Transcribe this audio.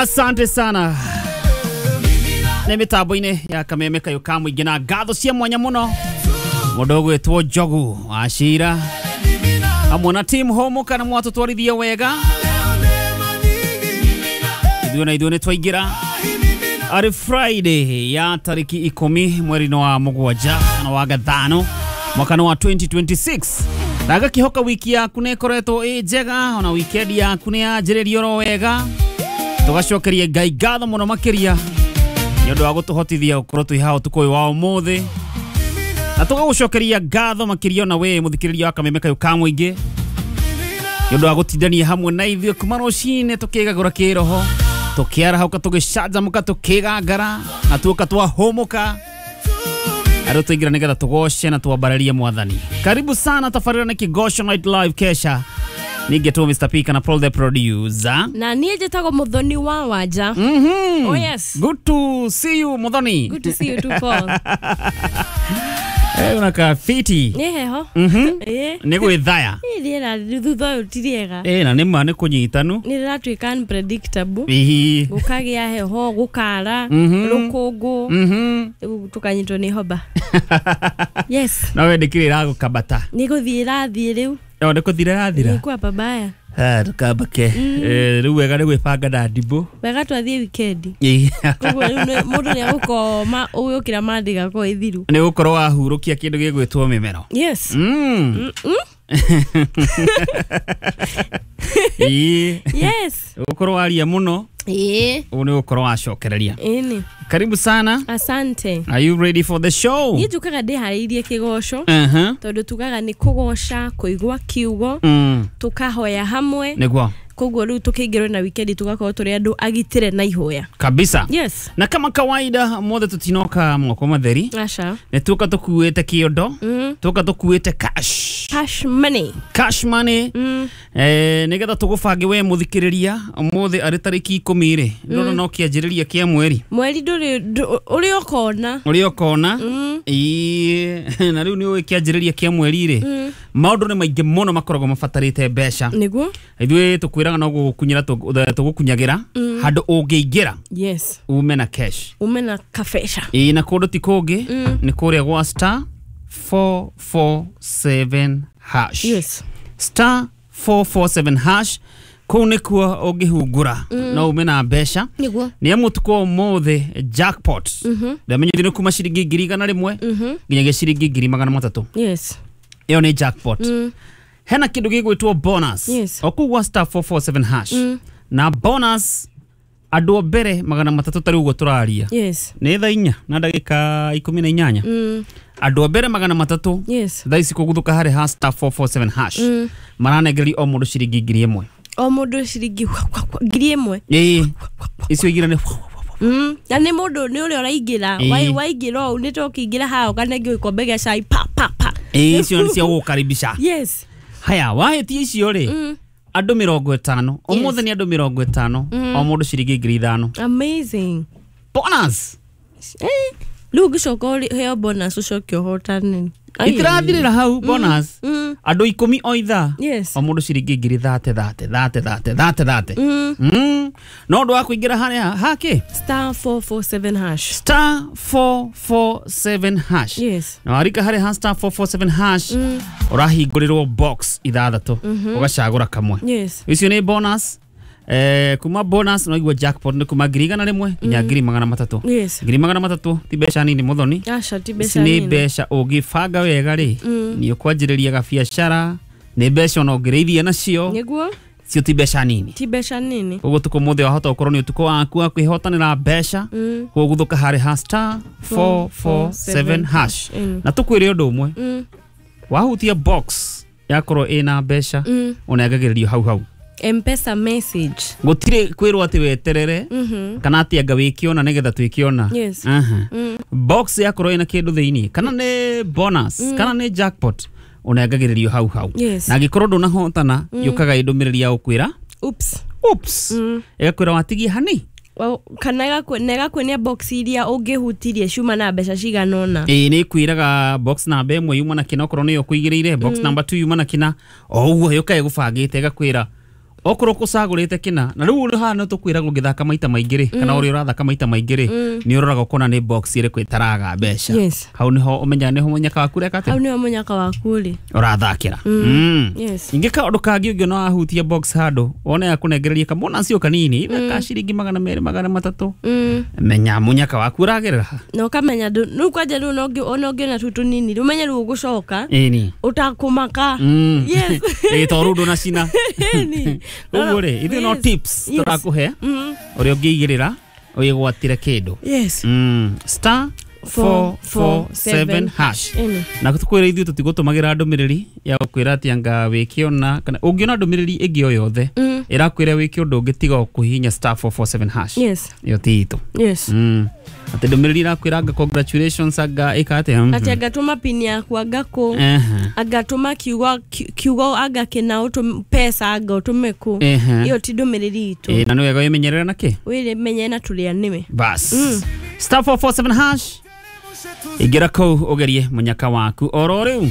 Asante sana. Nĩ mĩtambo-inĩ ya kameme kayũ ka mũingĩ na ngatho cia mwanya mũno mũndũ ũgwĩtwo Njogu wa Cira hamwe na team Homo kana mwatũtwarithia wega ithuĩ na ithuĩ nĩ twaingĩra arĩ Friday ya tarĩki 10 mweri-inĩ wa mũgwanja kana wa gathano mwaka wa 2026 na ngakĩhoka wiki yaku nĩ ĩkoretwo ĩ njega ona weekend yaku nĩ yanjĩrĩria oro wega tũgacokeria Ngai ngatho mũno makĩria nĩ ũndũ wa gũtũhotithia gũkorwo twĩ haha ũtukũ ũyũ wa ũmũthĩ na tũgagũcokeria ngatho makĩria ona we mũthikĩrĩria wa kameme kayũ ka mũingĩ nĩ ũndũ wa gũtindania hamwe na ithuĩ kuma rũcinĩ tũkĩgagũra kĩroho tũkĩarahũka tũgĩcanjamũka tũkĩgangara na tuoka twahũmũka arĩ tũingĩra nĩgetha tũgoce na twambararie mwathani. Karibu sana tabarĩra nĩ Kĩgoco Night Live kesha ningetwo Mr. P kana Paul the producer na niĩ njĩtagwo Muthoni wa Wanja. Oh yes. Good to see you Muthoni. Good to see you too, Paul. Unakaa fiti. Nĩ heho. Nĩ gwĩthaya. Rĩera thutha ũyũ ti rĩega. Na nĩ ma nĩ kũnyitanu. Nĩ rĩratuĩka unpredictable. Gũkagĩa heho, gũkara, rũkũngũ. Rĩu tũkanyitwo nĩ hoba. Yes. No we ndĩkĩrĩ ĩragũkambata. Nĩ gũthiĩ ĩrathiĩ rĩu. No nĩ kũthira ĩrathira. Nĩ kwa babaya. Tũkambake. Rĩu wega nĩ gwĩbanga na ndimũ. Wega twathiĩ weekend. Koguo rĩu mũndũ nĩ egũkoma ũgĩũkĩra Monday gakorwo ĩthiru. Nĩ gũkorwo wahurũkia kĩndũ gĩgwĩtwo mĩmero. Yes. Yes. Gũkorwo waria mũno. Ũguo nĩ gũkorwo wacokereria. Ĩni. Karibu sana. Asante. Are you ready for the show? Niĩ njũkaga ndĩharĩirie kĩgoco. Tondũ tugaga nĩ kũgoca, kũigua kiugo, tũkahoya hamwe. Nĩguo. Koguo rĩu tũkĩingĩrwo na weekend tũgakorwo tũrĩ andũ agitĩre na ihoya. Kabisa. Yes. Na kama kawaida mothe tũtinoka moko matheri. Aca. Nĩ tuoka tũkuĩte kĩondo. Tuoka tũkuĩte cash. Cash money. Cash money. Nĩgetha tũgũbange we mũthikĩrĩria ũmũthĩ arĩ tarĩki 10 rĩ. Ndona no kĩanjĩrĩria kĩa mweri. Mweri ndũrĩ ũrĩa ũkona. Ũrĩa ũkona. Na rĩu nĩ ũĩ kĩanjĩrĩria kĩa mweri rĩ. Maũndũ nĩ maingĩ mũno makoragwo mabatarĩte mbeca. Nĩguo. Ithuĩ tũkwĩraga no gũgũkunyĩra tũgũkunyagĩra handũ ũngĩingĩra. Yes. Ume na cash. Ume na kabesha. Na kũndũ ti kũngĩ nĩ kũrĩa gwa star 447 hash. Yes. Star 447 hash kũu nĩkuo ũngĩhungura no ume na mbeca. Nĩguo. Nĩ amu ũtukũ ũmũthĩ jackpot. Ndamenyithio nĩ kuma ciringi 100,000 nginyagia ciringi 300,000. Yes. Ĩyo nĩ jackpot. Hena kĩndũ gĩgwĩtwo bonus. Yes. O kũu gwa star 447 hash. Na bonus andũ a mbere 300 tarĩ ũguo tũraria. Yes. Nĩ thaa 4 na ndagĩka 18. Andũ a mbere 300. Yes. Thaa ici kũguthũka harĩ ha star 447 hash. Maranengererio o mũndũ ciringi 1,000. O mũndũ ciringi 1,000. Ĩĩ. Icio igĩrĩ nĩ Na nĩ mũndũ nĩ ũrĩa ũraingĩra. Waingĩra ũũ nĩ tũkĩingĩra haha ũkanengio gĩkombe gĩa cai pa pa pa. Ĩĩ icio nĩ cia gũgũkaribisha. Yes. Haya wahĩtia icio rĩ andũ 50 ũmũthĩ nĩ andũ 50 o mũndũ ciringi 5,000. Amazing. Bonus. Rĩu ũngĩcoka ũheo bonus ũcoke ũhotane. Itirathirĩra hau bonus. Andũ 10 o ithaa. Yes. O mũndũ ciringi 30,000 30 30 30 30. No ũndũ wa kũingĩra harĩa hake star 447 hash. Star 447 hash. Yes. Na warika harĩa ha star 447 hash ũrahingũrĩrwo box 6 ũgacagũra kamwe. Yes. Icio nĩ bonus. Kuma bonus no igua jackpot nĩ kuma 100,000 nginya 300,000. Yes. 300,000 ti mbeca nini Muthoni. Aca ti mbeca nini. Nĩ mbeca ũngĩbanga wega rĩ nĩ ũkwanjĩrĩria gabiacara nĩ mbeca ona ũngĩrĩithia nacio. Nĩguo. Cio ti mbeca nini. Ti mbeca nini. Koguo ũtukũ mũthĩ wahota gũkorwo nĩ ũtukũ waku wa kwĩhotanĩra mbeca. Koguo guthũka harĩ ha star 447 hash. Na tũkwĩre ũndũ ũmwe. Wahutia box yakorwo ĩna mbeca ũnengagĩrĩrio hau hau. M-Pesa message. Gũtirĩ kwĩrwo atĩ weterere kana atĩ anga wĩkĩona nĩgetha twĩkĩona. Yes. Box yakorwo ĩna kĩndũ thĩinĩ kana nĩ bonus kana nĩ jackpot ũnengagĩrĩrio hau hau. Yes. Na angĩkorwo ndũnahotana yũkaga ĩndũmĩrĩri ya gũkwĩra oops. Oops. Ĩgakwĩra watigie hani. Kana ĩgakuonia box iria ũngĩhutirie ciuma na mbeca cigana ũna. Ĩĩ nĩ ĩkwĩraga box namba 1 yuma na kĩna okorwo nĩyo ũkũigĩrĩire, box number 2 yuma na kĩna o ũguo yũkaga ĩgũbangĩte ĩgakwĩra Okorwo kũcagũrĩte kĩna na rĩu haha no tũkwĩragwo ũngĩthaka maita maingĩ rĩ, kana ũrĩa ũrathaka maita maingĩ rĩ, nĩ ũroraga ũkona nĩ box ĩrĩkũ ĩtaraga mbeca. Yes. Hau nĩho ũmenyaga nĩho mũnyaka waku ũreka Hau atĩa, nĩho mũnyaka waku ũrĩ. ũrathakĩra. Yes. Ningĩ kaũndũ kangĩ ũngĩona wahutia box handũ wone yakũnengereria kabonus o kanini ka ciringi 200 300, menya mũnyaka waku ũragerera ha. Na ũkamenya rĩu kwanja rĩu ona ũngĩona tu tũnini rĩu ũmenye rĩu ũgũcoka Ĩni. ũtakũmaka. Yes. Ĩ to rĩu ndũnacina. Ĩni. Ũguo rĩ, ithuĩ no Yes. tips Yes. tũrakũhe ũrĩa ũngĩigĩrĩra wĩgwatĩre kĩndũ. Yes. Star 447 hash. Ĩni. Na tũkwĩra ithuĩ tũtigũtũmagĩra ndũmĩrĩri ya gũkwĩra atĩ anga wĩkĩona kana ũngĩona ndũmĩrĩri ĩngĩ o yothe ĩrakwĩra wĩke ũndũ ũngĩ tiga o kũhihinya star 447 hash, Yes. ĩyo ti itũ. Yes. Atĩ ndũmĩrĩri ĩrakwĩra anga congratulations anga ĩka atĩa. Atĩ angatũma pini yaku anga kũ, angatũma kiugo kiugo anga kĩna pesa anga ũtũme kũ, ĩyo ti ndũmĩrĩri itũ. Ĩ, na nĩ wega wĩmenyerere na kĩ. Wĩmenye na tũrĩa nĩwe. Bas, star 447 hash, ingĩra kũu ũgerie mũnyaka waku oro rĩu.